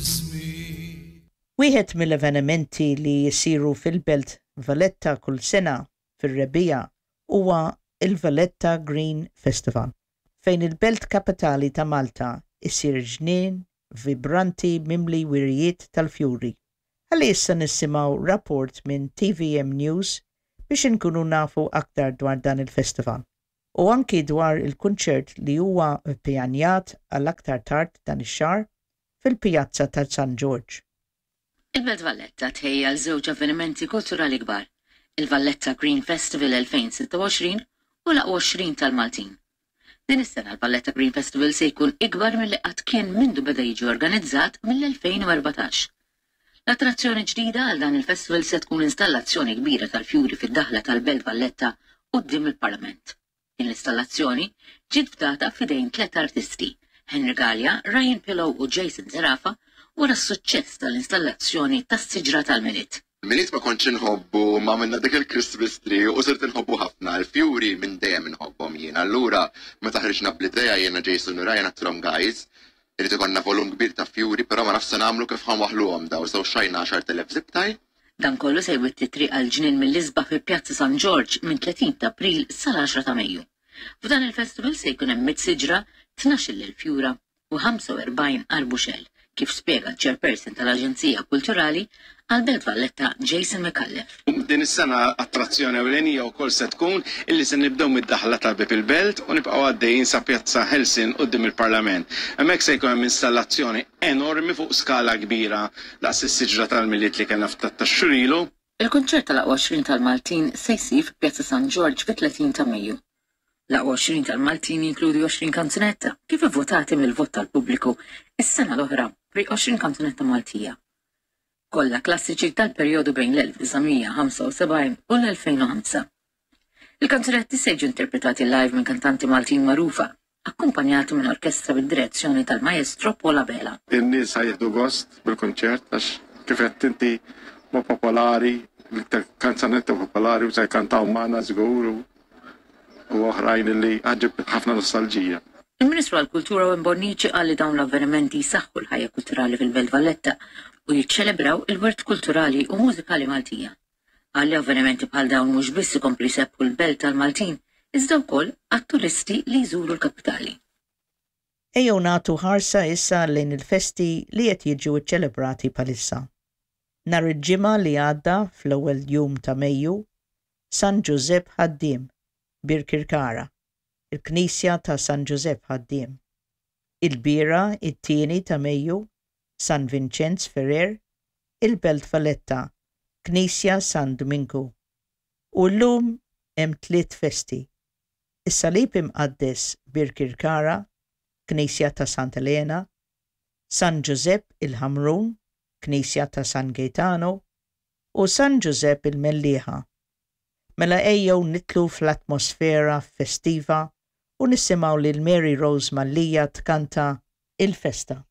Ismi. Wieħed mill-avvenimenti li jsiru fil-Belt Valletta kull sena fir-rebbiegħa huwa l-Valletta Green Festival, fejn il-belt kapitali ta' Malta issir ġnien vibranti mimli wirjiet tal-fjuri. Ħalli issa nisimgħu rapport minn TVM News biex inkunu nafu aktar dwar dan il-festival u anki dwar il-kunċert li huwa ppjanjat għal aktar tard dan ix-xahar fil-Pjazza ta' San Ġorġ. Il-Belt Valletta tħejji għal żewġ avvenimenti kulturali kbar, il-Valletta Green Festival 2026 u l-Aqwa 20 tal-Maltin. Din is-sena l-Valletta Green Festival se jkun ikbar milli qatt kien mindu beda jiġi organizzat mill-2014. L-attrazzjoni ġdida għal dan il-festival se tkun installazzjoni kbira tal-fjuri fid-daħla tal-Belt Valletta quddiem il-Parlament. Din l-istallazzjoni ġiet fdata f'idejn tlett artisti, Henry Galea, Ryan Pillow u Jason Zerafa wara s-suċċess tal-installazzjoni tas-siġra tal-Milied. Milied ma kontx inħobbu imma għamilna dik il-Christmas tree u sirt inħobbu ħafna. Il-fjuri minn dejjem inħobbhom jien. Allura meta ħriġna bl-idea jiena Jason u Ryan għedtilhom guys, irid ikollna volum kbir ta' fjuri però ma nafx se nagħmlu kif ħa nwaħħluhom dawn. So xtrajna 10,000 zip tie. Dan kollu se jwitti t-triq għall-ġnien mill-isbaħ fi Pjazza San Ġorġ minn 30 ta' April sal-10 ta' Mejju. F'dan il-festival se jkun hemm mitt siġra, 12,000 fjura u 45 arbuxell, kif spjega ċ-Chairperson tal-Aġenzija Kulturali għall-Belt Valletta Jason Micallef. Din is-sena attrazzjoni ewlenija wkoll se tkun illi se nibdew mid-daħla ta' Bieb il-Belt u nibqgħu għaddejjin sa Pjazza Ħelsien quddiem il-Parlament. Hemmhekk se jkun hemm installazzjoni enormi fuq skala kbira daqs is-siġra tal-Milied li kellna ftit tax-xhur ilu. Il-kunċert tal-Aqwa 20 tal-Maltin se jsir fi Pjazza San Ġorġ fit-30 ta' Mejju. L-Aqwa 20 tal-Maltin jinkludi 20 kanzunetta kif ivvutati mill-vot tal-pubbliku s-sena l-oħra pri 20 kanzunetta Maltija. Kollha klassiċi tal-perjodu bejn l-1975 u l-2005. Il-kanzunetti se jiġu interpretati live minn kantanti Maltin magħrufa, akkumpanjati minn orkestra bid-direzzjoni tal-Maestro Paul Abela. In-nies ħa jieħdu gost bil-kunċert għax kif għedt inti huma popolari, l-iktar kanzunetta popolari u se jkantaw magħna żgur u oħrajn li ħa ġġib ħafna nostalġija. Il-Ministru għall-Kultura Owen Bonnici qal li dawn l-avvenimenti jsaħħu l-ħajja kulturali fil-Belt Valletta u jiċċelebraw il-wirt kulturali u mużikali Maltija. Qal li avvenimenti bħal dawn mhux biss ikomplu jsebbħu l-belt għall-Maltin, iżda wkoll għat-turisti li jżuru l-kapitali. Ejjew nagħtu ħarsa issa lejn il-festi li qed jiġu ċċelebrati bħalissa. Nhar il-Ġimgħa li għadda fl-ewwel jum ta' Mejju, San Ġużepp Ħaddiem, Birkirkara, il-Knisja ta' San Ġużepp Ħaddiem. Ilbieraħ it-tieni ta' Mejju, San Vinċenz Ferrer, il-Belt Valletta, Knisja San Duminku. U llum hemm tliet festi, Is-Salib Imqaddes Birkirkara, Knisja ta' Santa Elena, San Ġużepp il-Ħamrun, Knisja ta' San Gejtanu, u San Ġużepp il-Mellieħa. Mela ejjew nidħlu fl-atmosfera festiva u nisimgħu lil Mary Rose Mallia tkanta Il-Festa.